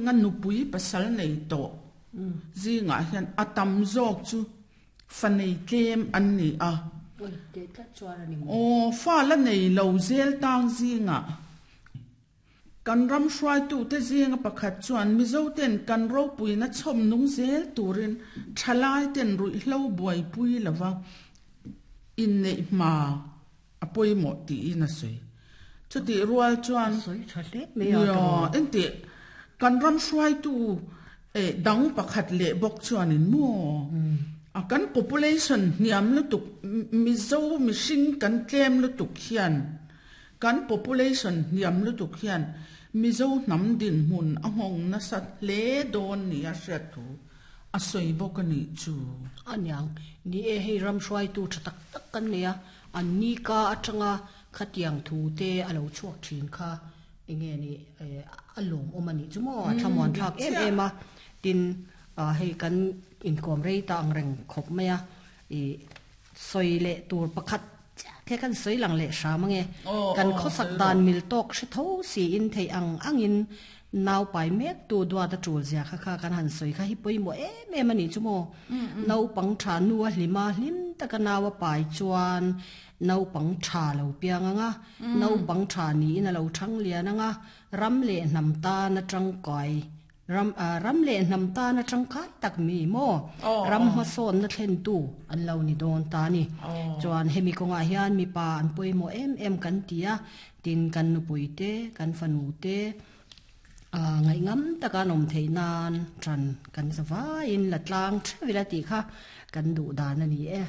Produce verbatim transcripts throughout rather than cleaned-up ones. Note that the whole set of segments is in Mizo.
Nga nupui pasal nei tawh zingah hian a tam zawk chu fa nei tlem an ni a. Aw, fa la nei lo zel tang zingah kan ram hruaitute zinga pakhat chuan Mizoten kan ropuina chhawm nung zel turin thalaiten ruihhlo buaipui lova inneih hma a pawimawh tiin a sawi. Chutih rual chuan engtih kan ram hruaitu dang pakhat leh bawk chuanin maw a kan population hniam lutuk Mizo mihring kan tlem lutuk hian kan population hniam lutuk hian Mizo hnam dinhmun a nghawng nasa hle dawn nia hriat thu a sawi bawk a nih chu. Aniang, ni e hei ram hruaitu tha tak tak kan nei a, an ni ka atanga khatiang thu te a lo chhuak thin kha enge ni a lawm awm a nih chu maw, a thlamuan thlak em em a, tin hei kan inkawm rei ta ang reng khawp mai a, i sawi leh tur pakhat the kan sawi lang leh hram ange, kan khawsak dan mil tawk hre tho siin thei ang angin nau pai mek tu duat a tul zia kha kha kan han sawi kha hi pawimawh em em a nih chu maw. Naupang tha nu a hlima hlim taka nau a pai chuan naupang tha lo piang anga, naupang tha niin a lo thang lian anga, ram leh hnam tan a tangkai ram ram leh hnam tan a tangkai tak mi maw, ram hmasawn na thlen tu an lo ni dawn ta ni. Chuan hemi kawngah hian mipa an pawimawh em em kan ti a, tin kan nupui te kan fanu te ngai ngam taka an awm theih nan tran kan zavaiin la tlang theuh ila tih kha kan duh dan a ni e.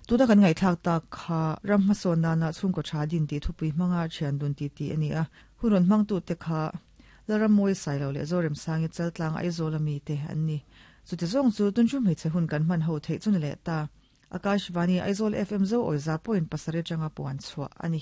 Tuna kan ngaihthlak tak kha ram hmasawn nana chhungkaw tha din tih thupui hmanga thian dun ti ti a ni a, hun rawn hmang tu te kha Lalrammawi Sailo leh Zoremsangi Chaltlang Aizawl ami te an ni. Chuti zawng chu tun chu hmeichhe hun kan hman ho theih chu ni leh ta. Akashvani Aizawl F M zo awiza point pasarih atanga puan chhuah a ni.